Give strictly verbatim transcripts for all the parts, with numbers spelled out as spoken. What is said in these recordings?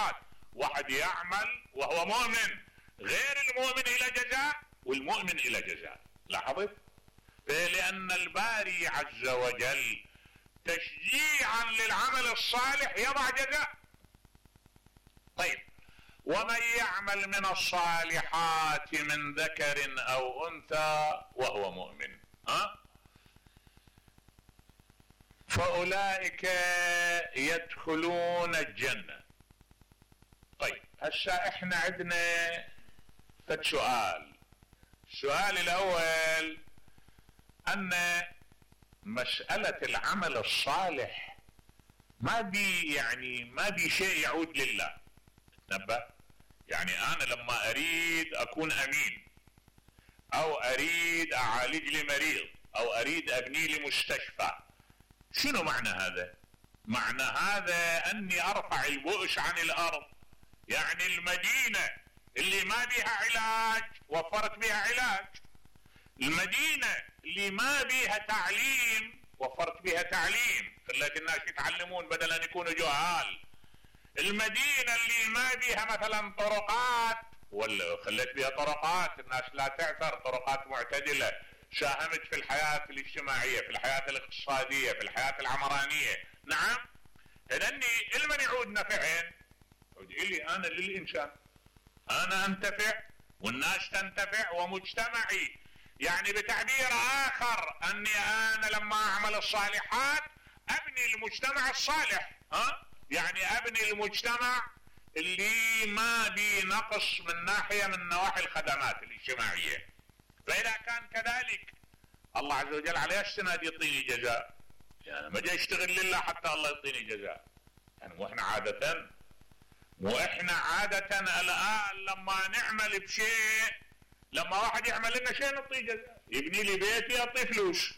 الصالحات. واحد يعمل وهو مؤمن، غير المؤمن الى جزاء والمؤمن الى جزاء. لاحظت؟ لان الباري عز وجل تشجيعا للعمل الصالح يضع جزاء. طيب، ومن يعمل من الصالحات من ذكر او انثى وهو مؤمن ها فاولئك يدخلون الجنة. طيب، هسه احنا عندنا فد سؤال. السؤال الاول ان مسألة العمل الصالح ما بي يعني ما بي شيء يعود لله. تنبه، يعني انا لما اريد اكون امين او اريد اعالج لي مريض او اريد ابني لي مستشفى، شنو معنى هذا؟ معنى هذا اني ارفع البؤس عن الارض. يعني المدينة اللي ما بيها علاج وفرت بها علاج، المدينة اللي ما بيها تعليم وفرت بها تعليم، خليت الناس يتعلمون بدل ان يكونوا جهال. المدينة اللي ما بيها مثلا طرقات ولا خليت بيها طرقات، الناس لا تعثر، طرقات معتدلة، ساهمت في الحياة الاجتماعية، في الحياة الاقتصادية، في الحياة العمرانية. نعم، هذني لمن يعود نفعين؟ يعود إلي أنا للإنسان، أنا أنتفع والناس تنتفع ومجتمعي. يعني بتعبير آخر أني أنا لما أعمل الصالحات أبني المجتمع الصالح. ها؟ يعني أبني المجتمع اللي ما بي نقص من ناحية من نواحي الخدمات الاجتماعية. فإذا كان كذلك الله عز وجل على السند يعطيني جزاء. يعني ما جاي اشتغل لله حتى الله يعطيني جزاء. يعني مو احنا عادة مو احنا عادة الآن لما نعمل بشيء، لما واحد يعمل لنا شيء نعطيه جزاء. يبني لي بيتي اعطيه فلوس،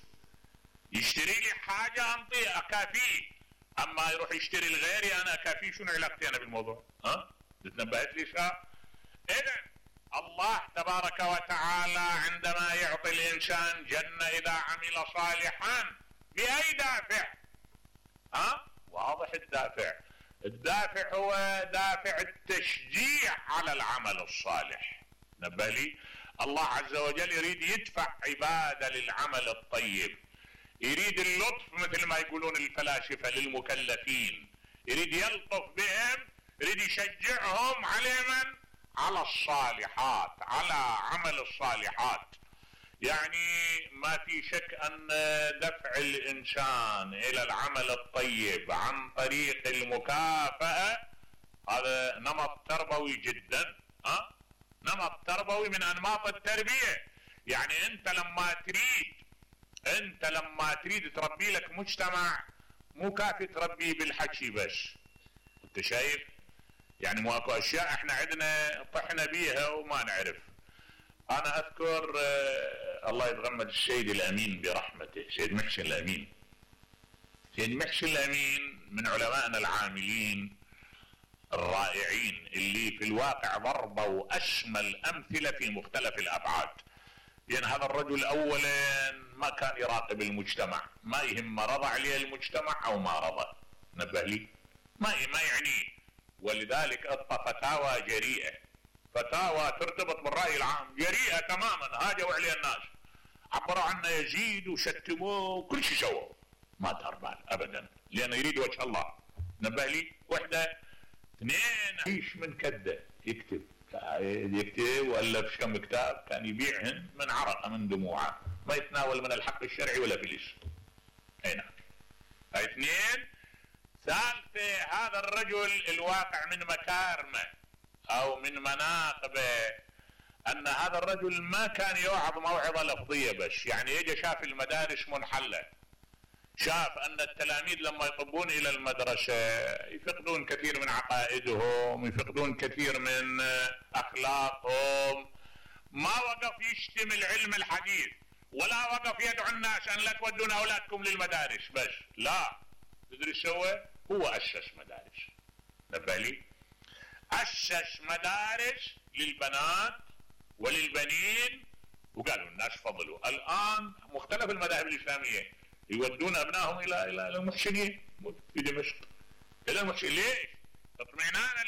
يشتري لي حاجة انطيه اكافيه. اما يروح يشتري لغيري انا اكافيه، شنو علاقتي انا بالموضوع؟ ها؟ تنبهت لي شا؟ اذا الله تبارك وتعالى عندما يعطي الانسان جنة اذا عمل صالحا باي دافع؟ ها؟ واضح الدافع. الدافع هو دافع التشجيع على العمل الصالح. نبه لي، الله عز وجل يريد يدفع عباده للعمل الطيب، يريد اللطف مثل ما يقولون الفلاسفة للمكلفين، يريد يلطف بهم، يريد يشجعهم على من؟ على الصالحات، على عمل الصالحات. يعني ما في شك ان دفع الانسان الى العمل الطيب عن طريق المكافأة هذا نمط تربوي جدا. ها؟ نمط تربوي من انماط التربية. يعني انت لما تريد انت لما تريد تربي لك مجتمع مو كافي تربيه بالحكي بس. انت شايف؟ يعني مو اكو اشياء احنا عندنا طحنا بيها وما نعرف. انا اذكر آه الله يتغمد السيد الامين برحمته، سيد محسن الامين. سيد محسن الامين من علمائنا العاملين الرائعين اللي في الواقع ضربوا اشمل امثلة في مختلف الابعاد. يعني هذا الرجل اولا ما كان يراقب المجتمع، ما يهم رضى عليه المجتمع او ما رضى. نبه لي، ما ما يعنيه. ولذلك اعطى فتاوى جريئة، فتاوى ترتبط بالرأي العام، جريئة تماما. هاجوا عليه الناس، عبروا عنه يزيد وشتموه وكل شيء سووا، ما دار بال ابدا، لانه يريد وجه الله. نبه لي، وحده اثنين عيش من كده يكتب يكتب والف كم كتاب كان يبيعهن من عرقه من دموعه، ما يتناول من الحق الشرعي ولا فلس. اي نعم. اثنين، ثالثة هذا الرجل الواقع من مكارمه او من مناقبه ان هذا الرجل ما كان يوعظ موعظة لفظية بس. يعني يجي شاف المدارس منحلة، شاف ان التلاميذ لما يطبون الى المدرسة يفقدون كثير من عقائدهم، يفقدون كثير من اخلاقهم. ما وقف يشتم العلم الحديث ولا وقف يدعو الناس ان لا تودون اولادكم للمدارس بس، لا. تدري سوى؟ هو اسس مدارس. نبه لي، اسس مدارس للبنات وللبنين، وقالوا الناس فضلوا. الان مختلف المذاهب الاسلامية يودون ابنائهم الى الى المحسنين في دمشق، الى المحسنين. ليش؟ اطمئنانا